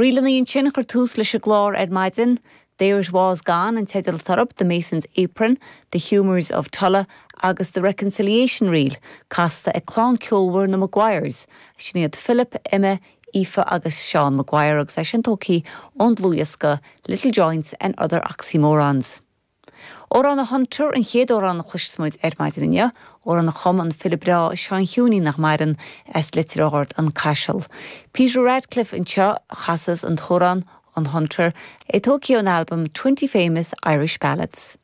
Ríleanna ansin a chuir tús leis an gclár ar maidin, There It Was Gone an teideal atá orthu, The Mason's Apron, The Humours of Tulla agus The Reconciliation Reel, casta ag clann ceolmhar na Maguires, sin iad Philip, Emma, Aoife agus Seán Maguire agus é sin tógtha ón dlúthdhiosca Little Joints and Other Oxymorons. Amhrán an Hunter an chéad amhrán a chloisfeas muid ar maidin inniu, amhrán a chum an file breá Seán Chiúinín nach maireann, as Leitir Ard, An Caiseal. Peter Radcliffe anseo a chasas an t-amhrán, An Hunter, é tógtha ón albam Twenty Famous Irish Ballads.